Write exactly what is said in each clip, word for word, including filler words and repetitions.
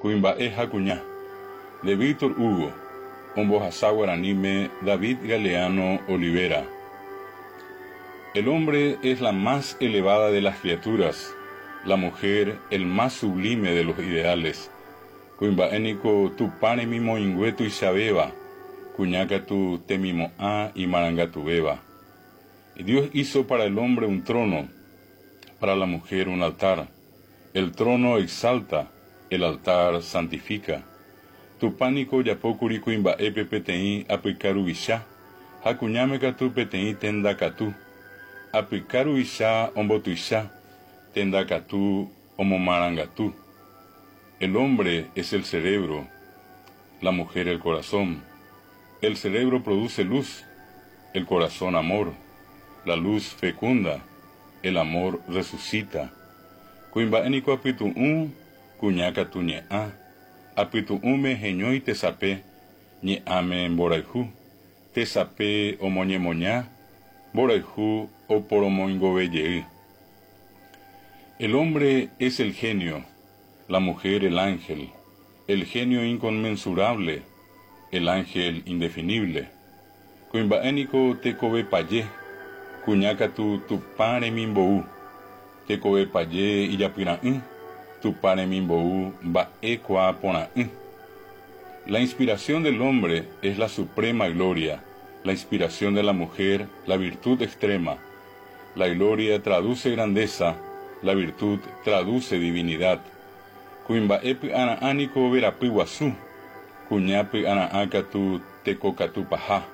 Kuimba'e ha kuña. De Víctor Hugo, ombohasa guaraníme David Galeano Olivera. El hombre es la más elevada de las criaturas, la mujer el más sublime de los ideales. Kuimba'e niko Tupã remimoĩngue tuichavéva, kuña katu temimo'ã imarangatuvéva. Dios hizo para el hombre un trono, para la mujer un altar. El trono exalta, el altar santifica. Tupã niko ojapókuri kuimba'épe peteĩ apyka ruvicha ha kuñáme katu peteĩ tendakatu. Apyka ruvicha ombotuicha, tendakatu omomarangatu. El hombre es el cerebro, la mujer el corazón. El cerebro produce luz, el corazón amor. La luz fecunda, el amor resucita. Kuimba'e niko apytu'ũ, kuña katu ñe'ã. Apytu'ũme heñói tesape, ñe'ãme mborayhu. Tesape omoñemoña, mborayhu oporomoingovejey. El hombre es el genio, la mujer el ángel, el genio inconmensurable, el ángel indefinible. Kuimba'e niko tekove paje, kuña katu Tupã remimbou. Tekove paje ijapyra'ỹ, Tupã remimbou mba'ekuaaporã'ỹ. La inspiración del hombre es la suprema gloria, la inspiración de la mujer la virtud extrema. La gloria traduce grandeza, la virtud traduce divinidad. Kuimba'e py'ara'ã niko verapy guasu, kuña py'ara'ã katu tekokatu paha.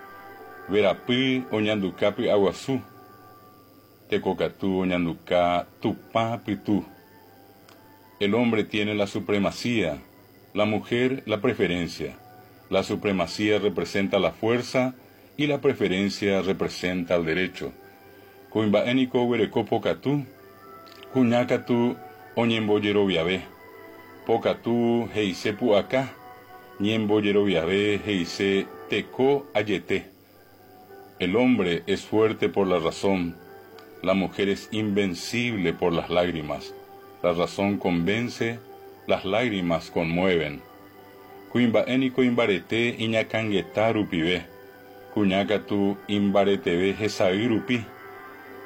Verapy oñanduka py'aguasu, tekokatu oñanduka Tupã pytu. El hombre tiene la supremacía, la mujer la preferencia. La supremacía representa la fuerza y la preferencia representa el derecho. Kuimba'e niko oguereko pokatu, kuña katu oñembojeroviave. Pokatu he'ise pu'aka, ñembojeroviave he'ise teko ajete. El hombre es fuerte por la razón, la mujer es invencible por las lágrimas. La razón convence, las lágrimas conmueven. Kuimba'e niko imbarete iñakãngeta rupive, kuña katu imbareteve hesay rupi.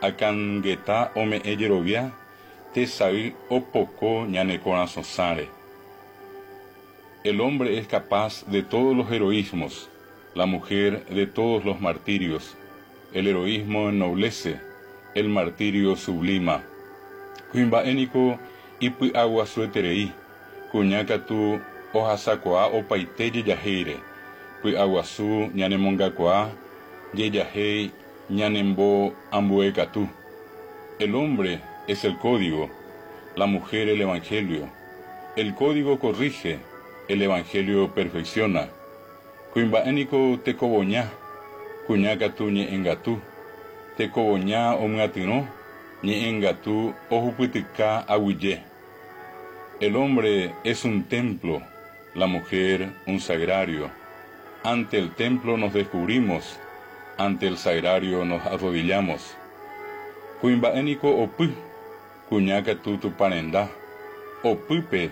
Akãngeta ome'ẽ jerovia, tesay opoko ñane korasõsãre. El hombre es capaz de todos los heroísmos, la mujer de todos los martirios. El heroísmo ennoblece, el martirio sublima. Kuimba'e niko ipy'aguasueterei, kuña katu ohasakuaa opaite jejahéire. Py'aguasu ñanemongakuaa, jejahéi ñanemboambuekatu. El hombre es el código, la mujer el evangelio. El código corrige, el evangelio perfecciona. Kuimba'e niko tekovoña, kuña katu ñe'ẽngatu. Tekovoña omyatyrõ, ñe'ẽngatu ohupytyka aguyje. El hombre es un templo, la mujer un sagrario. Ante el templo nos descubrimos, ante el sagrario nos arrodillamos. Kuimba'e niko opy, kuña katu Tupã renda. Opýpe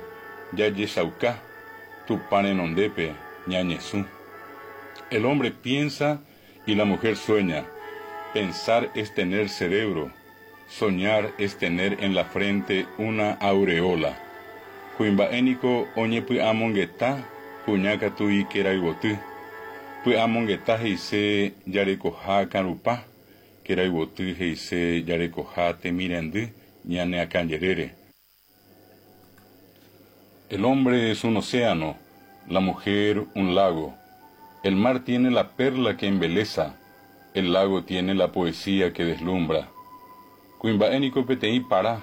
jajechauka, Tupã renondépe ñañesũ. El hombre piensa y la mujer sueña. Pensar es tener cerebro, soñar es tener en la frente una aureola. Kuimba'e niko oñepy'amongeta, kuña katu ikerayvoty. Py'amongeta he'ise jarekoha akãrupa, kerayvoty he'ise jarekoha temirendy ñane akãjerére. El hombre es un océano, la mujer un lago. El mar tiene la perla que embeleza, el lago tiene la poesía que deslumbra. Kuimba'e niko peteĩ para,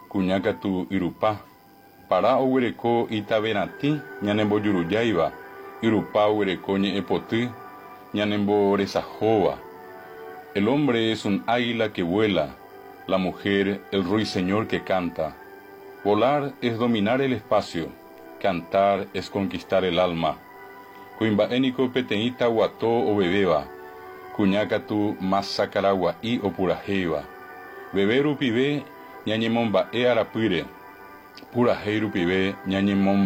kuña katu yrupa. Para oguereko itaveratĩ ñanembojurujáiva, yrupa oguereko ñe'ẽpoty ñanemboresahóva. El hombre es un águila que vuela, la mujer el ruiseñor que canta. Volar es dominar el espacio, cantar es conquistar el alma. Kuimba'e niko peteĩ taguato ovevéva, kuña katu masakaragua'i opurahéiva. Veve rupive ñañemomba'e arapýre, purahéi rupive ñañemomba'e.